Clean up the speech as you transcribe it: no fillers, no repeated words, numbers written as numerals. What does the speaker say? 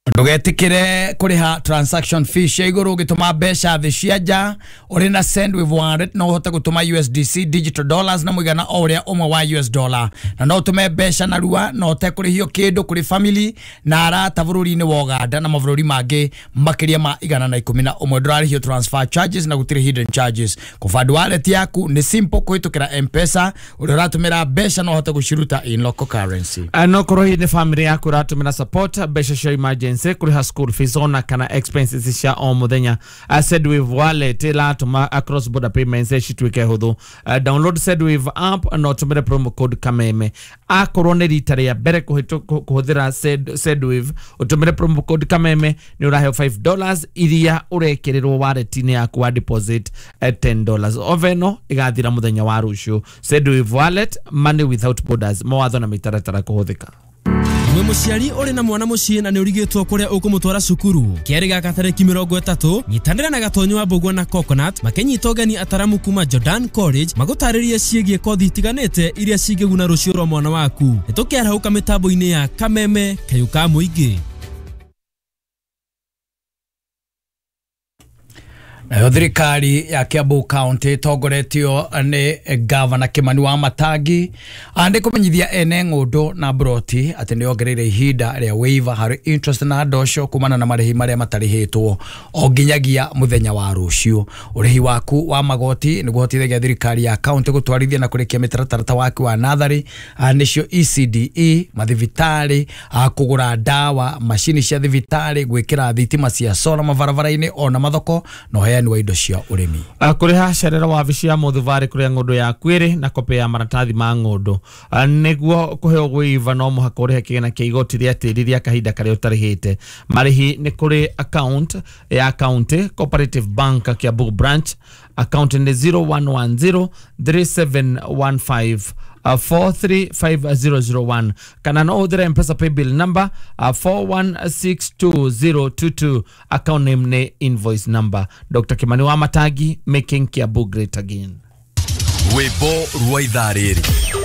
Ndũgetikire kũrĩha transaction fee cia igũrũ ũgĩtũma mbeca thĩ cia nja. Ũrĩ na Sendwave Wallet no ũhote gũtũma USDC digital dollars na mũigana o ũrĩa ũmwe wa US dollar, na no ũtũme mbeca narua na ũtekũrĩhio kĩndũ kũrĩ family na arata bũrũri-inĩ wa Uganda na mabũrũri mangĩ makĩria ma 111. Ndũrarĩhio transfer charges na gũtirĩ hidden charges. Kũband wallet yaku nĩ simple kũhĩtũkĩra M-Pesa. Ũrĩa ũratũmĩra mbeca no ũhote gũciruta in local currency. No korwo hihi nĩ family yaku ũratũmĩra support mbeca cia emergency, kũrĩha school fees ona kana expenses cia o mũthenya, Sendwave Wallet ĩratũma cross border payments cituĩke hũthũ. Download Sendwave app na ũtũmĩre promo code Kameme. Akorwo nĩ rita rĩa mbere kũhũthĩra Sendwave, ũtũmĩre promo code Kameme nĩ ũraheo $5 iria ũrekĩrĩrwo wallet-inĩ yaku wa deposit $10. Offer ĩno ĩgathira mũthenya wa rũciũ. Sendwave Wallet, money without borders. Mawatho na mĩtaratara kũhũthĩka. Wĩ mũciari ũrĩ na mwana mũciĩ na nĩ ũrigĩtwo kũrĩa ũkũmũtwara cukuru. Kerĩ gaka tarĩki 30, nyitanĩra na Gatonyo wa Mbũgua na Coconut makĩnyita ũgeni ataramu kuma Jordan College magũtarĩrie ciĩgiĩ kothi itiganĩte iria cingĩguna rũciũ rwa mwana waku. Nĩ tũkĩarahũka mĩtambo-inĩ ya Kameme kayũ ka mũingĩ. Nayo thirikari ya Kiambu County ĩtongoretio nĩ Gavana Kimani wa Matangi andĩ kũmenyithia ene ng'ũndũ na mburoti atĩ nĩ ongereire ihinda rĩa waiver harĩ interest na ndosho kumana na marĩhi marĩa matarĩhĩtwo o nginyagia mũthenya wa rũciũ. Ũrĩhi waku wa magoti nĩguo ũhotithagia thirikari ya county gũtwarithia na kũrĩkia mĩtaratara ta waki wa natharĩ, nĩcio ECDE, mathibitarĩ, kũgũra ndawa, macini cia thibitarĩ, gwĩkĩra thitima cia solar mabarabara-inĩ ona mathoko na ũheani wa indo cia ũrĩmi. Kũrĩha cerera wabici ya mũthubarĩ kũrĩa ng'ũndũ yaku ĩrĩ na kopĩ ya maratathi ma ng'ũndũ. Nĩguo kũheo waiver no mũhaka ũrĩhe kĩgĩna kĩa igoti rĩa tĩri rĩa kahinda karĩa ũtarĩhĩte. Marĩhi nĩ kũrĩ account ya county Cooperative Bank Kiambu branch, account nĩ 0110 3715 435001, kana no ũhũthĩre M-Pesa paybill number 4162022, account name nĩ invoice number. Dr. Kimani wa Matangi, making Kiambu great again. Rwĩmbo rwa ithaa rĩrĩ.